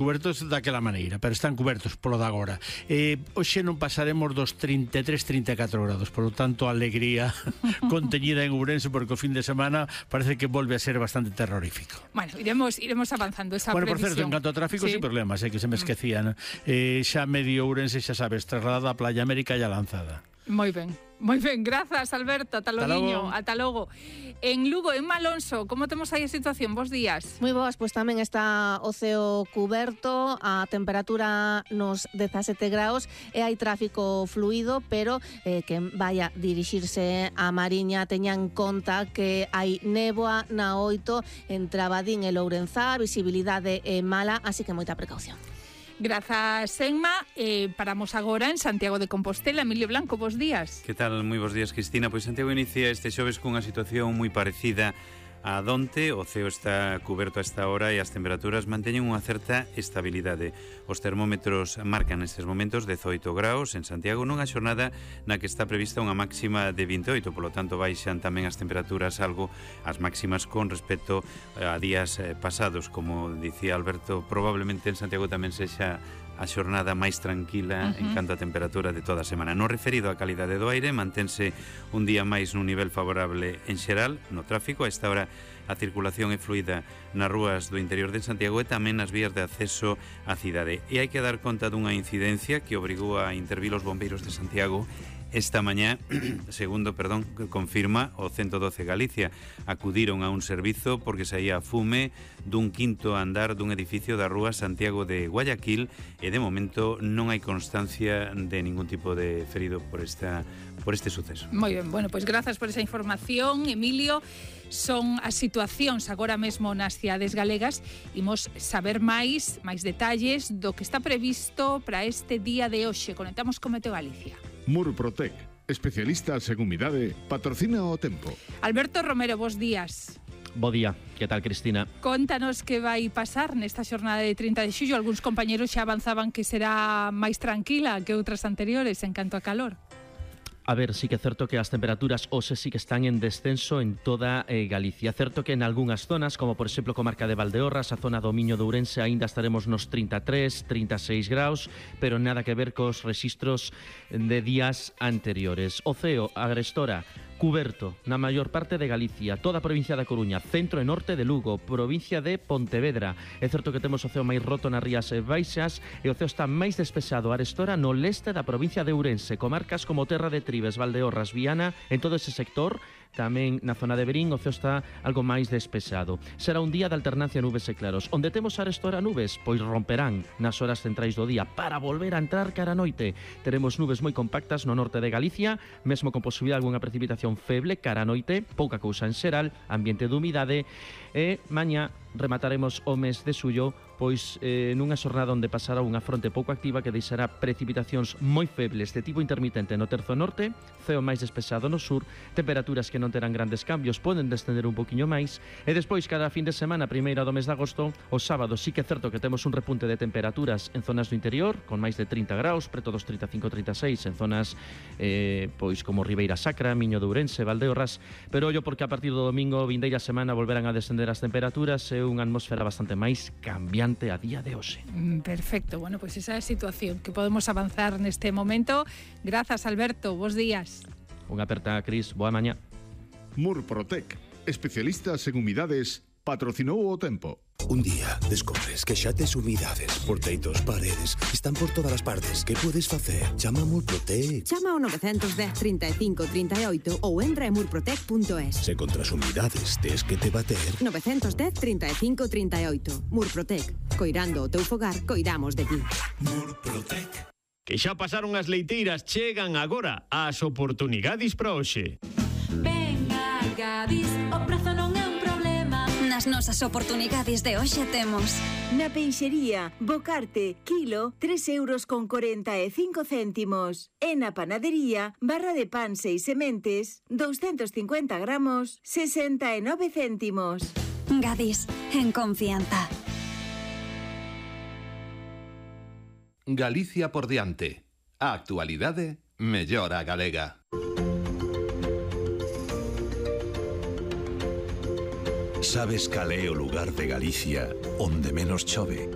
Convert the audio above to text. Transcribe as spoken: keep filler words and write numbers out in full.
Cubertos daquela maneira, pero están cubertos polo de agora. Eh, hoxe non pasaremos dos trinta e tres, trinta e catro grados, por lo tanto, alegría conteñida en Ourense, porque o fin de semana parece que volve a ser bastante terrorífico. Bueno, iremos iremos avanzando esa bueno, previsión. Por certo, en canto a tráfico, sí. sin problemas, eh, que se me esquecían. Eh, xa medio Ourense, xa sabes, trasladada a Playa América e a Lanzada. Moi ben, moi ben, grazas Alberto, ata logo, ata logo. En Lugo, en Malonso, como temos aí a situación? Bos días. Moi boas, pois tamén está o ceo cuberto, a temperatura nos dezasete graus e hai tráfico fluido, pero eh, que vaya dirixirse a Mariña teñan conta que hai néboa na oito entre Abadín e Lourenzá, visibilidade é mala, así que moita precaución. Grazas, Enma. Eh, paramos agora en Santiago de Compostela. Emilio Blanco, bos días. Que tal? Moi bos días, Cristina. Pois Santiago inicia este xoves cunha situación moi parecida a donte. O ceo está cuberto a esta hora e as temperaturas manteñen unha certa estabilidade. Os termómetros marcan nestes momentos dezoito graus en Santiago nunha xornada na que está prevista unha máxima de vinte e oito, polo tanto baixan tamén as temperaturas algo as máximas con respecto a días pasados. Como dicía Alberto, probablemente en Santiago tamén sexa a xornada máis tranquila uh-huh. en canto a temperatura de toda a semana. No referido á calidade do aire, mantense un día máis nun nivel favorable en xeral no tráfico. A esta hora a circulación é fluida nas rúas do interior de Santiago e tamén nas vías de acceso á cidade. E hai que dar conta dunha incidencia que obrigou a intervir os bombeiros de Santiago esta mañá, segundo, perdón, confirma o ciento doce Galicia. Acudiron a un servizo porque saía fume dun quinto andar dun edificio da rúa Santiago de Guayaquil e de momento non hai constancia de ningún tipo de ferido por esta por este suceso. Moi ben, bueno, pois grazas por esa información, Emilio. Son as situacións agora mesmo nas cidades galegas. Imos saber máis, máis detalles do que está previsto para este día de hoxe. Conectamos con Meteo Galicia. Murprotec, especialistas en humidade, patrocina o tempo. Alberto Romero, bos días. Bo día, que tal, Cristina? Contanos que vai pasar nesta xornada de trinta de xullo. Algúns compañeros xa avanzaban que será máis tranquila que outras anteriores en canto a calor. A ver, sí que é certo que as temperaturas hoxe sí que están en descenso en toda eh, Galicia. Certo que en algunhas zonas, como por exemplo comarca de Valdeorras, a zona do Miño de Ourense, aínda estaremos nos trinta e tres, trinta e seis graus, pero nada que ver cos rexistros de días anteriores. O ceo, agrestora, cuberto na maior parte de Galicia, toda a provincia da Coruña, centro e norte de Lugo, provincia de Pontevedra. É certo que temos o ceo máis roto nas Rías Baixas e o ceo está máis despexado a arestora no leste da provincia de Ourense, comarcas como Terra de Tribes, Valdeorras, Viana, en todo ese sector. Tamén na zona de Verín o ceo está algo máis despexado. Será un día de alternancia nubes e claros. Onde temos arestora nubes, pois romperán nas horas centrais do día para volver a entrar cara a noite. Teremos nubes moi compactas no norte de Galicia, mesmo con posibilidade de algunha precipitación feble cara a noite, pouca cousa en xeral, ambiente de humidade e mañá remataremos o mes de xullo pois eh, nunha xornada onde pasará unha fronte pouco activa que deixará precipitacións moi febles de tipo intermitente no terzo norte, ceo máis despexado no sur, temperaturas que non terán grandes cambios, poden descender un poquinho máis e despois cada fin de semana, primeira do mes de agosto, o sábado sí que é certo que temos un repunte de temperaturas en zonas do interior con máis de trinta graus, preto dos trinta e cinco, trinta e seis en zonas eh, pois como Ribeira Sacra, Miño de Ourense, Valdeorras, pero ollo porque a partir do domingo vindeira semana volverán a descender as temperaturas e unha atmosfera bastante máis cambiante a día de hoxe. Perfecto, bueno, pois pues esa é a situación que podemos avanzar neste momento. Grazas, Alberto, bos días. Unha aperta, Cris, boa mañá. Murprotec, especialistas en humidades, patrocinou o tempo. Un día descobres que xa tes humidades por teitos, paredes, están por todas as partes. Que podes facer? Chama a Murprotec. Chama ao nove un cero, trinta e cinco, trinta e oito ou entra en murprotec punto es. Se contra as humidades tes que te bater. nove un cero, trinta e cinco, trinta e oito. Murprotec. Coirando o teu fogar, coidamos de ti. Murprotec. Que xa pasaron as leiteiras, chegan agora as oportunidades para hoxe. Venga, Gadis, o prezo non é un problema. Nas nosas oportunidades de hoxe temos na peixería, bocarte, kilo, tres euros con corenta e cinco céntimos. E na panadería, barra de pan seis sementes, doscientos cincuenta gramos, sesenta e nove céntimos. Gadis, en confianza. Galicia por diante. A actualidade mellora galega. Sabes cal é o lugar de Galicia onde menos chove?